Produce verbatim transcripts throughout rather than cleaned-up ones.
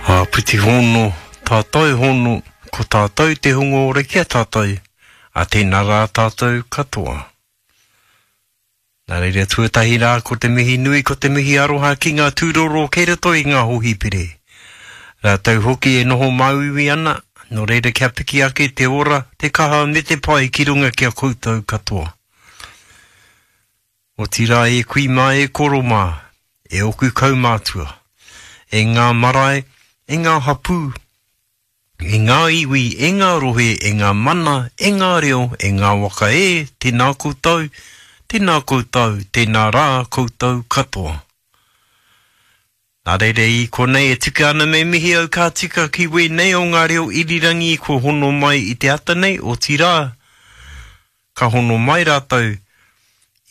Āpiti hono, tātou hono, ko tātou te hunga ora ki a tātou, a tēnā rā tātou katoa. Nā reira tuatahi rā ko te mihi nui, ko te mihi aroha ki ngā tūroro kei roto i ngā hōhipere. Rātou hoki e noho māuiui ana, nō reira kia piki ake te ora, te kaha me te pai ki runga ki a koutou katoa. Otirā e kui mā e koro mā, e oku kaumātua, e ngā marae, e ngā hapū, e ngā iwi, e ngā rohe, e ngā mana, e ngā reo, e ngā waka e, tēnā koutou, tēnā koutou, tēnā rā koutou katoa. Nā reira i konei e tika ana me mihi au ka tika ki wēnei o ngā reo irirangi kua hono mai i te ata nei, otirā, ka hono mai rātou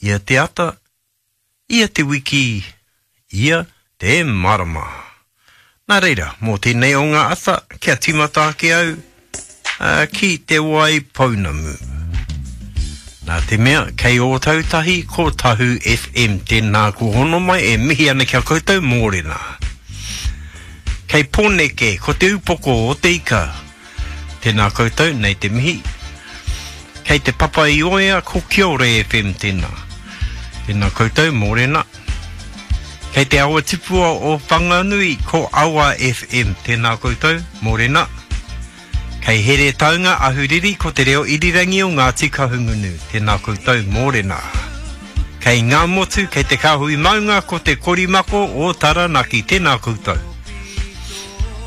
ia te ata, ia te wiki, ia te marama. Nā reira, mō tēnei o ngā ata, kia tīmata ake au uh, ki Te Wai Pounamu. Nā te mea, kei Ōtautahi ko Tahu F M, tēnā ko hono mai e mihi ana ki a koutou mōrena. Kei Pōneke, ko te upoko o te ika. Tēnā koutou, nei te mihi. Kei te Papa i Oea, ko Kiore F M tēnā. Tēnā koutou, mōrena. Kei te awa tipua o Whanganui, ko Awa F M, tēnā koutou, mōrena. Kei Heretaunga Ahuriri, ko te reo irirangi o Ngāti Kahungunu, tēnā koutou, mōrena. Kei Ngāmotu, kei te Kāhui Maunga, ko te Korimako o Taranaki, tēnā koutou.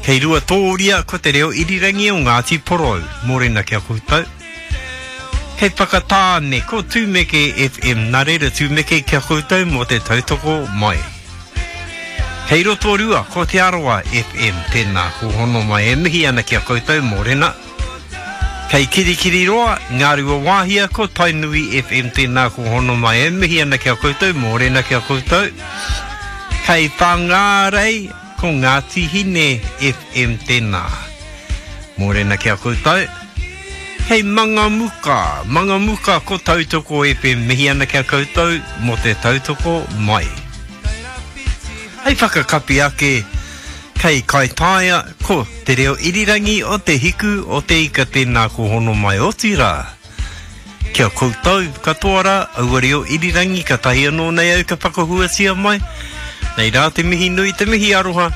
Kei Ruatōria, ko te reo irirangi o Ngāti Porou, mōrena kia koutou. Kei Whakatāne, ko Tūmeke F M, nā reira Tūmeke kia koutou mō te tautoko mai. Kei Rotorua, ko Te Arawa F M, tēnā, ko hono mai e mihi ana ki a koutou, mōrena. Kei Kirikiriroa, Ngārua Wāhia, ko Tainui F M, tēnā, ko hono mai e mihi ana ki a koutou, mōrena ki a koutou. Kei Whangārei, ko Ngāti Hine F M, tēnā. Mōrena ki a koutou. Kei Mangamuka, Mangamuka ko Tautoko F M, mihi ana ki a koutou mō te tautoko mai. Hei whakakapi ake, kei Kaitaia, ko te reo irirangi o te hiku o te ika tēnā ko hono mai otirā. Kia koutou katoa rā, aua reo irirangi ka tahi anō nei au ka whakahuatia mai. Nei rā te mihi nui, te mihi aroha,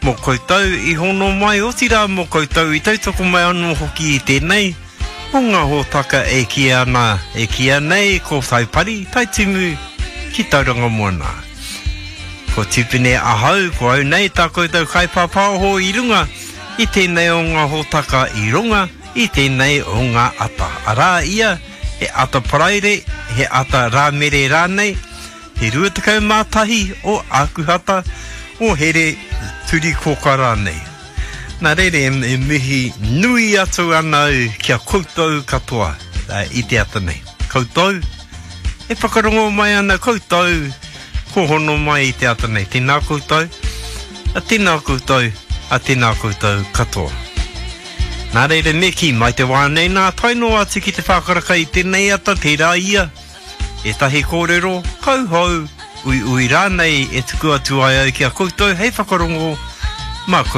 mō koutou i hono mai otirā, mō koutou i tautoko mai anō hoki i tēnei, o ngā hōtaka e kīia ana, e kīia nei ko Taipari, Taitimu ki Tauranga Moana. Ko Tipene ahau, ko au nei tā koutou kaipāpāho i runga i tēnei o ngā hōtaka i runga i tēnei o ngā ata. Arā ia, he ata paraire, he ata rāmere rānei, te rua tekau mā tahi o Ākuhata, o Here Turikoka rānei. Nā reira e mihi nui atu ana au ki a koutou katoa i te ata nei. Koutou, e whakarongo mai ana koutou, ko hono mai i te ata nei. Tēnā koutou, a tēnā koutou, a tēnā koutou katoa. Nā reira me kī mai te wā nei nā tae noa atu ki te whākaraka i tēnei ata tērā ia. Ētahi kōrero, kauhou, uiui rānei e tuku atu ai au ki a koutou hei whakarongo mā koutou.